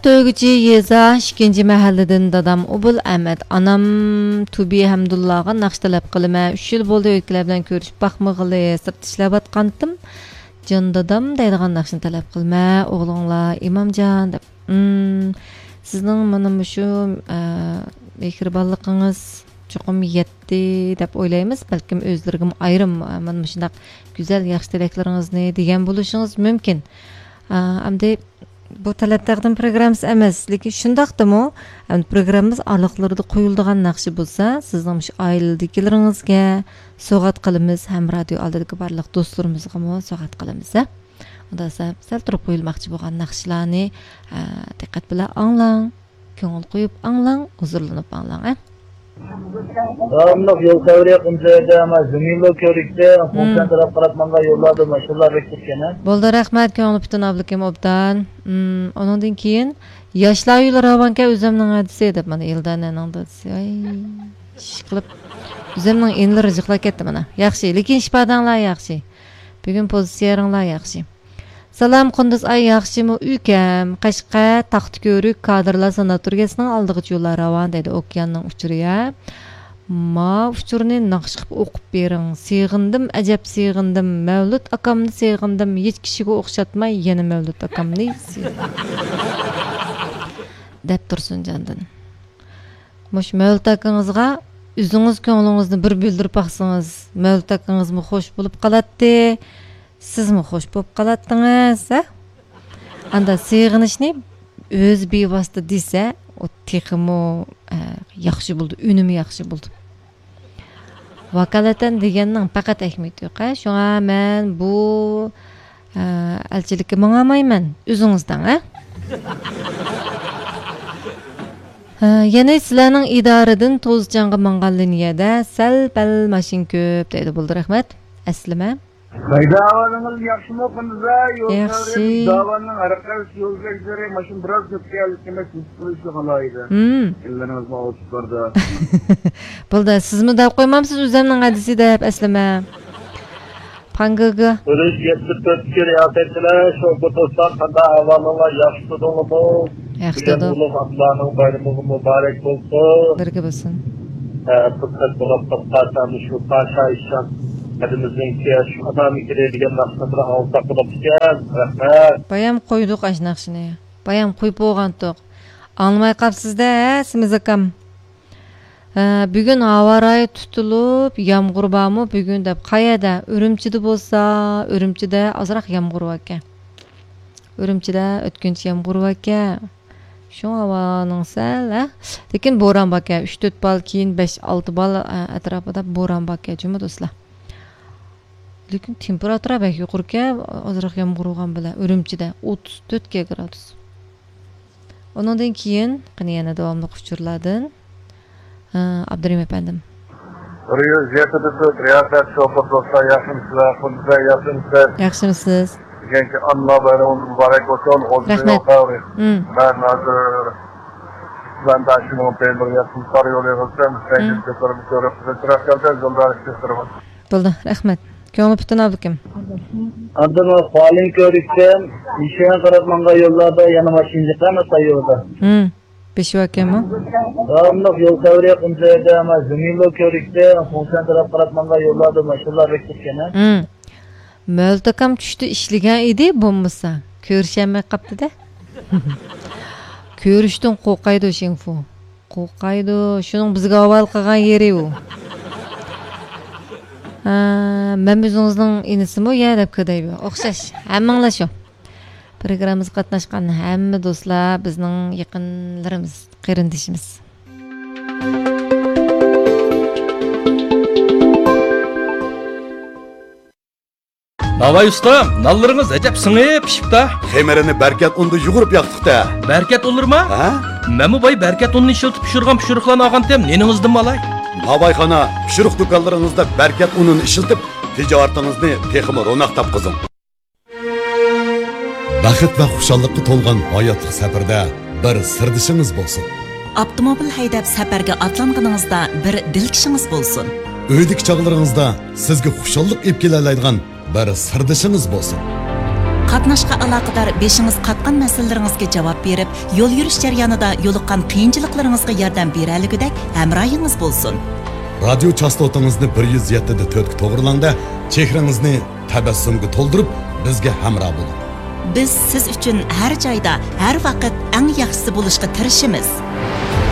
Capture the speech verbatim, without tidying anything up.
تۆگىچى يېزا، ئىككىنچى مەھەللىدىن دادام ئوبۇل ئەمەت، ئانام تۇبى ھەمدۇللاغا ناخشا تەلەپ قىلىمەن. ئۈچ يىل بولدى ئۆيدىكىلەر بىلەن كۆرۈشۈپ باقمىغىلى، سىرتتا ئىشلەۋاتقانتىم. جان دادام دەيدىغان ناخشىنى تەلەپ قىلىمەن، ئوغلۇڭلار ئىمامجان دەپ. ئىم، سىزنىڭ مانا مۇشۇ، ئە، مېھرىبانلىقىڭىز چوقۇم يەتتى دەپ ئويلايمىز. بەلكىم ئۆزلىرىگىمۇ ئايرىم، ئە، مانا مۇشۇنداق گۈزەل ياخشى تىلەكلىرىڭىزنى دېگەن بولۇشىڭىز مۇمكىن. ئە، ئەمدى بۇ تەلەپ تەقدىم پروگراممىسى ئەمەس، لېكىن شۇنداقتىمۇ، ئەمدى پروگراممىمىز ئارىلىقلىرىدا قويۇلىدىغان ناخشا بولسا، سىزنىڭ مۇشۇ ئائىلىدىكىلىرىڭىزگە سوۋغات قىلىمىز ھەم رادىيو ئالدىدىكى بارلىق دوستلىرىمىزغىمۇ سوۋغات قىلىمىز، ھە؟ ئۇندا سە-، سەل تۇرۇپ قويۇلماقچى بولغان ناخشىلارنى، ئە، دىققەت بىلەن ئاڭلاڭ، كۆڭۈل قويۇپ ئاڭلاڭ، ھۇزۇرلىنىپ ئاڭلاڭ، ھە؟ داۋاملىق يول خەۋىرى قۇمسەيدە، ئەمما زېمىنلو كۆرۈكتە، مم. خۇڭسەن تەرەپ قاراپ ماڭغان يوللاردا ماشىنىلار بەك كۆپكەن، ھە؟ بولدى، رەھمەت، كۆڭلى پۈتۈن ئابلىكىم ئوبدان. مم، ئۇنىڭدىن كېيىن ياشلار ئۆيلىرى راۋانكەن ئۆزۈمنىڭ ھەدىسى دەپ، مانا ئىلدانەنىڭ دادىسى. ئاي، ئىشقىلىپ، ئۆزۈمنىڭ ئىنىلىرى يىقلاپ كەتتى مانا. ياخشى، لېكىن ئىپادەڭلار ياخشى. بۈگۈن پوزىتسىيەڭلار ياخشى. سالام قۇندۇز ئاي، ياخشىمۇ ئۇكام؟ قەشقەر، تاختىكۆرۈك، كادىرلار ساناتورىيەسىنىڭ ئالدىغىچە يوللار راۋان دەيدۇ، ئوكياننىڭ ئۇچۇرى يا. ما ئۇچۇرنى ناخشا قىلىپ ئوقۇپ بېرىڭ. سېغىندىم، ئەجەب سېغىندىم. مەۋلۇت ئاكامنى سېغىندىم. ھېچ كىشىگە ئوخشاتماي يەنە مەۋلۇت ئاكامنى سېغىندىم. دەپ تۇرسۇن جاندىن. مۇشۇ مەۋلۇت ئاكىڭىزغا ئۆزىڭىز كۆڭلىڭىزنى بىر بىلدۈرۈپ باقسىڭىز، مەۋلۇت ئاكىڭىزمۇ خوش بولۇپ قالاتتى، سىزمۇ خوش بولۇپ قالاتتىڭىز، ھە؟ ئاندا سېغىنىشنى ئۆزى بىۋاسىتە دېسە، ئۇ تېخىمۇ، ئە، ياخشى بولىدۇ، ئۈنۈمى ياخشى بولىدۇ. ۋاكالىتەن دېگەننىڭ پەقەت ئەھمىيىتى يوق، ھە؟ شۇڭا مەن بۇ، ئە، ئەلچىلىككە ماڭالمايمەن، ئۆزىڭىز دەڭ، ھە؟ ھە، يەنى سىلەرنىڭ ئىدارىدىن توزچاڭغا ماڭغان لىنىيەدە سەل-پەل ماشىنا كۆپ دەيدۇ. بولدى، رەھمەت. ئەسلىمە. قايدا ئەھۋالىڭىز، ياخشىمۇ قۇندۇزا؟ يول ياخشى. داۋاننىڭ ھەر قايسى يول بەگلىرى ماشىنا بىراز كۆپكەن، لېكىن مەن سىزىپ قويۇشنى خالايدۇ. ھىم. ئىللىرىڭىزمۇ ئاۋۇتۇپلاردا. بولدى، سىزمۇ دەپ قويمامسىز ئۆزۈمنىڭ ھەدىسى دەپ ئەسلىمە. پاڭگىگا. ئۈرۈش يەتتە تۆتتىكى رىياسەتچىلەر، شوپۇر دوستلار، قانداق ئەھۋالىڭلار؟ ياخشىمۇ؟ ياخشى بۈگۈن دېدۇق. ئۇلۇغ ئابدۇللانىڭ بايرىمىغا مۇبارەك بولسۇن. بىرگە بولسۇن. ئە، پۇرسەت بولۇپ تاپقان مۇشۇ پاشا ئىشان ھەدىمىزنىڭكى شۇ ئادامىكىدە دېگەن ناخشىنى بىر ئاڭلىساق بولۇپتىكەن. رەھمەت. بايام قويدۇق ئاش ناخشىنى. بايام قويۇپ بولغانتۇق. ئاڭلىماي قاپسىز-دە، ھە، سېمىز ئاكام. ھە، بۈگۈن ھاۋا رايى تۇتۇلۇپ، يامغۇر بارمۇ بۈگۈن دەپ. قەيەردە؟ ئۈرۈمچىدە بولسا، ئۈرۈمچىدە ئازراق يامغۇر باركەن. ئۈرۈمچىدە ئۆتكۈنچى يامغۇر باركەن. شۇڭا ھاۋانىڭ سەل، ھە؟ لېكىن بوران باركەن. ئۈچ تۆت بال، كېيىن بەش ئالتە بال، ئە، ئەتراپىدا بوران باركەن جۇمۇ دوستلار. لېكىن تېمپېراتۇرا بەك يۇقىرىكەن، ئازراق يامغۇر بولغان بىلەن ئۈرۈمچىدە ئوتتۇز تۆت گرادۇس. ئۇنىڭدىن كېيىن، قېنى يەنە داۋاملىق ئۇچۇرلاردىن. ھە، ئابدۇرېھىم ئەپەندىم. بىر يۈز يەتتە تۆت رىياسەت شوپۇر دوستلار، ياخشىمۇسىلەر؟ قۇندۇزە، ياخشىمۇسىلەر؟ ياخشىمۇسىز؟ بۈگۈنكى ئانىلار بايرىمىڭىز مۇبارەك بولسۇن. ئوزۇم رەھمەت. يول خەۋىرى. مم. مەن ھازىر مەن داشىنىڭ بىر ياخشىمۇ قار يولى قىلسام، مم. سەيدىن كۆتۈرۈپ كۆرۈپ، تراكتوردا يولدا ئىشلەپ تۇرىمەن. بولدى، رەھمەت. كۆڭلى پۈتۈن ئابلىكىم. ئاندىن خۇالىن كۆرۈكتىن نىشانغا قاراپ ماڭغان يوللاردا يەنە ماشىنا جىقلار سايىۋىدا. ھىم، بېشى باركەنمۇ؟ داۋاملىق يول خەۋىرى قۇمسەيدە، ئەمما زېمىنلو كۆرۈكتە خۇڭسەن تەرەپ قاراپ ماڭغان يوللاردا ماشىنىلار بەك كۆپكەن، ھە؟ ھىم. مەۋلۇت ئاكام چۈشتە ئىشلىگەن ئىدى، بولمىسا كۆرۈشەلمەي قاپتۇ-دە. كۆرۈشتىن قورقايدۇ شىڭفۇ. قورقايدۇ، شۇنىڭ بىزگە ھاۋالە قىلغان يېرى ئۇ. ھە، مەن ئۆزىڭىزنىڭ ئىنىسىمۇ يا دەپ كۆدەيبۇ. ئوخشاش، ھەممىڭلار شۇ. پروگراممىمىزغا قاتناشقان ھەممە دوستلار بىزنىڭ يېقىنلىرىمىز، قېرىندىشىمىز. ناۋاي ئۇستام، نانلىرىڭىز ئەجەب سىڭىپ پىشىپتا. خېمىرىنى بەركەت ئۇندا يۇغۇرۇپ ياقتۇق-تە. بەركەت ئۇنلىرىما؟ ھە؟ مەنمۇ باي بەركەت ئۇنىنى ئىشلىتىپ پىشۇرغان پىشۇرۇقلارنى ئالغانتىم، نېنىڭىزدىنمۇ ئالاي. ناۋايخانا، پىشۇرۇق دۇكانلىرىڭىزدا بەركەت ئۇنىنى ئىشلىتىپ، تىجارىتىڭىزنى تېخىمۇ روناق تاپقۇزۇڭ. بەخت ۋە خۇشاللىققا تولغان ھاياتلىق سەپىرىدە بىر سىردىشىڭىز بولسۇن. ئاپتوموبىل ھەيدەپ سەپەرگە ئاتلانغىنىڭىزدا بىر دىلكىشىڭىز بولسۇن. ئۆيدىكى چاغلىرىڭىزدا سىزگە خۇشاللىق ئېلىپ كېلەلەيدىغان بىر سىردىشىڭىز بولسۇن. قاتناشقا ئالاقىدار بېشىڭىز قاتقان مەسىلىلىرىڭىزگە جاۋاب بېرىپ، يول يۈرۈش جەريانىدا يولۇققان قىيىنچىلىقلىرىڭىزغا ياردەم بېرەلىگۈدەك ھەمراھىڭىز بولسۇن. رادىيو چاستوتىڭىزنى بىر يۈز يەتتە دە تۆتكە توغرىلاڭ-دە، چېھرىڭىزنى تەبەسسۇمغا تولدۇرۇپ، بىزگە ھەمراھ بولۇڭ. بىز سىز ئۈچۈن ھەر جايدا، ھەر ۋاقىت ئەڭ ياخشىسى بولۇشقا تىرىشىمىز.